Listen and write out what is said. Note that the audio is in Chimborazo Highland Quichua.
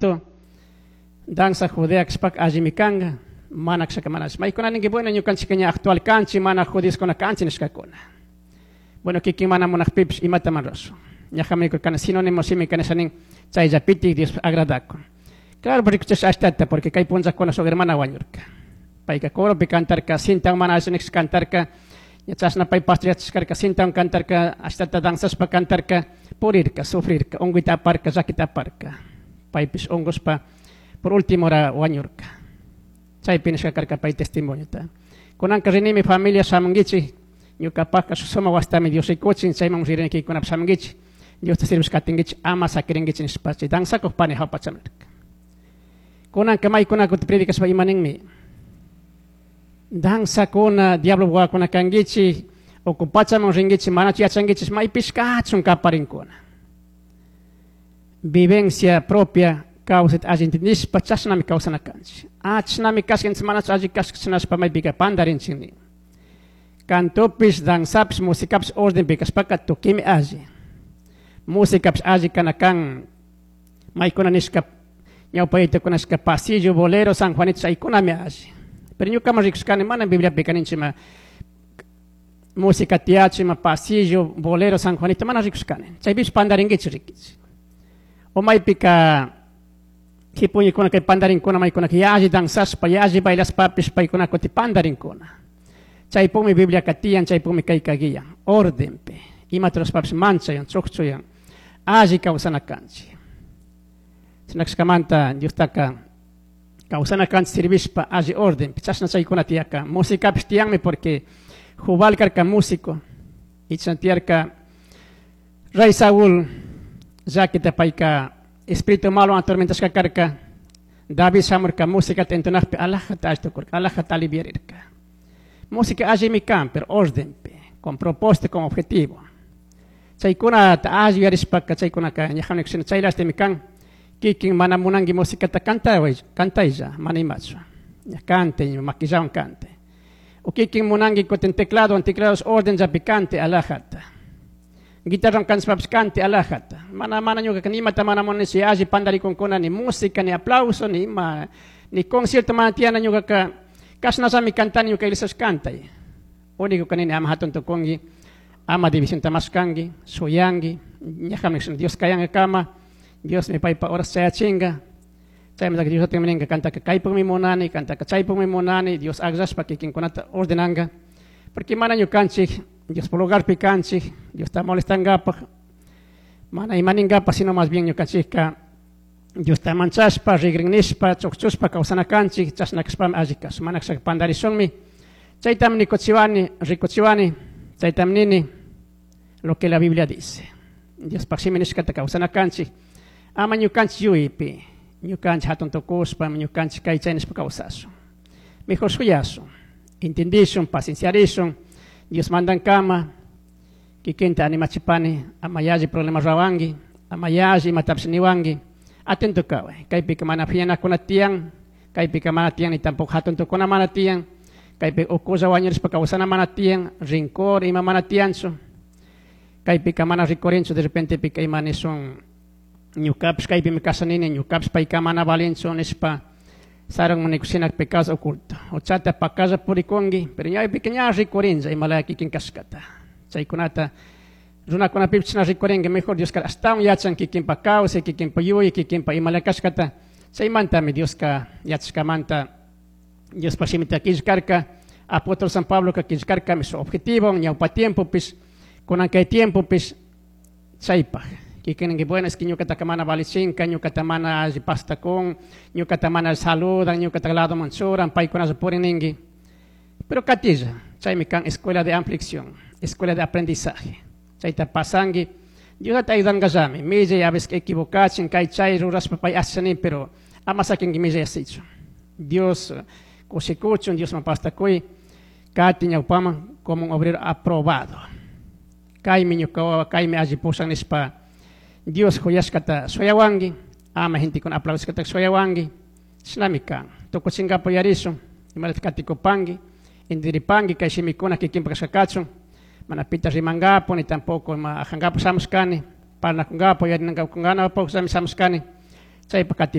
Juanito, danza judea kashpaka allimi kanka, mana kashaka mana alli. Maykuna ninki, bueno, ñukanchik ña actual kanchik, mana judíoskuna kanchik nishkakuna. Bueno, kikin mana munakpipish imata man rurashun. Ñajami nikurkani sinónimo shimi kanisha nin, chayllapitik Dios agradakun. Claro, rikuchish ashtata, porque kay punllakuna shuk hermana wañurka. Payka coropi cantarka, cintawan mana alli nikish cantarka, ña chashna pay pastor yachashkarka, cintawan cantarka, ashtata danzashpa cantarka, purirka, sufrirka, unkuyta aparka, llakita aparka. Paypish unkushpa, por último hora wañurka. Chaypi nishka karka pay testimoniota. Kunanka rinimi familia shamunkichik, ñukapajka shuk sumak wasitami Dios rikuchin, chayman ririniykikunapish shamunkichik, Diosta sirvish katinkichik, ama sakirinkichik nishpa, chay danzakuj pani jawpa chamirka. Kunanka maykuna kutin predicashpa ima ninmi? Danzakuna, diablo wawakuna kankichik, uku pachaman rinkichik, manachu yachankichik, maypish kachun kaparinkuna. Vivencia propia kawsayta alli entendishpa chashnami kawsana kanchik. Ah, chashnami kashka, entonces manachu alli kashka chinashpa maypika pandarinchik nin. Cantopish, danzapish, musicapish ordenpi kashpaka tukimi alli. Musicapish alli kana kan, maykuna nishka ñawpa yaytakuna nishka pasillo, bolero, San Juanito, chaykunami alli. Pero ñukaman rikushkani mana Bibliapika ninchik ima música tiyachu, ima pasillo, bolero, San Juanito, mana rikushkani. Chaypish pandarinkichik rikichik. O maypika jipuñikuna kay pandarinkuna maykunaka yalli danzashpa, yalli bailashpapish paykuna kuti pandarinkuna. Chaypumi Bibliaka tiyan, chaypumi kayka guiyan. Ordenpi, imata rurashpapish manchayan, chukchuyan, alli kawsana kanchik. Chinakashkamanta Diostaka kawsana kanchik sirvishpa alli ordenpi, chashna chaykuna tiyaka. Musicapish tiyanmi porque Jubal karka músico, y chashna tiyarka Rey Saúl, llakita payka espíritu malo atormentashka karka, David shamurka músicata entonakpi alajata alli tukurka, alajata aliviarirka. Música allimi kan, pero ordenpi, con propósito, con objetivo. Chaykunata alli yuyarishpaka, chaykunaka ñajanik shina chaylastimi kan, kikin mana munanki musicata cantaway, cantaylla, mana imachu. Ña cante, ña maquillawan cante. O kikin munanki kutin teclado, teclados orden llapi cante alajata. Guitarra cantashpapish cante alajata. Mana, mana ñukaka ni imata mana munanichu, alli pandarikunkuna, ni música, ni aplauso, ni ima, ni concierto mana tiyana ñukaka, kashnallami cantani ñuka iglesiash cantay. Único kanini ama hatun tukunki, ama divisionta mashkanki, shuyanki, ñajami Dios kayankakama, Dios mi paypa horas chayachinka. Chaymantaka Dios atinmi kantaka kaypukmi munani, kantaka chaypukmi munani, Dios akllashpa kikinkunata ordenanka. Porque mana ñukanchik, Dios por lugarpi kanchik, Dios ta molestankapaj, mana imaninkapak, sino más bien ñukanchikka Dios ta manchashpa, rigrin nishpa, chukchushpa kawsana kanchik, chashna kashpami alli kashun, mana kashaka pandarishunmi. Chaytami nikuchiwani, rikuchiwani, chaytami nini, lo que la Biblia dice. Diospaj shimi nishkata kawsana kanchik, ama ñukanchik yuypi, ñukanchik hatun tukushpa, ñukanchik kay chay nishpa kawsashun. Mejor shuyashun, entendishun, pacienciarishun, Dios mandankama, kikinta animachipani, ama yalli problema rawanki, ama yalli imatapish niwanki, atento kaway, kaypika mana phiñanakuna tiyan, kaypika mana tiyan ni tampoco hatun tukuna mana tiyan, kaypi ukulla wañurishpa kawsana mana tiyan, rincor ima mana tiyanchu, kaypika mana rikurinchu, de repente pika ima nishun, ñukapish kaypimi kashanini, ñukapish payka mana valinchu nishpa, sarun munikushina pecados oculto. Uchata pakalla purikunki, pero ñawpika ña rikurinlla imalaya kikin kashkata. Chaykunata runakunapipish chashna rikurinki, mejor Dioska ashtawan yachan kikinpa kawsay, kikinpa yuyay, kikinpa imalaya kashkata. Chaymantami Dioska yachashkamanta Diospa shimita killkarka, apóstol San Pabloka killkarkami su objetivo, ñawpa tiempopish, kunan kay tiempopish, chaypaj. Kikin ninki, bueno, es que ñukataka mana valichinka, ñukata mana alli pastakun, ñukata mana saludan, ñukata ladoman churan, paykunalla purin ninki. Pero katilla, chaymi kan escuela de aflicción, escuela de aprendizaje. Chayta pasanki, Dios te ayudankallami, millay a veces equivocachin, kay chay rurashpa pay ashanin, pero ama sakinki millay asichu. Dios kushikuchun, Dios mapastakuy, kati ñawpaman como un obrero aprobado. Kaymi ñuka wawa, kaymi alli pushan nishpa, Dios huyashkata shuyawanki, ama gentekuna aplaudishkata shuyawanki, shinami kan. Tukuchinkapu yarishun, imalata katikupanki, intiripanki, kay shimikuna kikinpa kashkakachun, mana pita rimankapu, ni tampoco ima ajankapu shamushkani, parlakunkapu, yarinankapu shamushkani, chaypa katipani.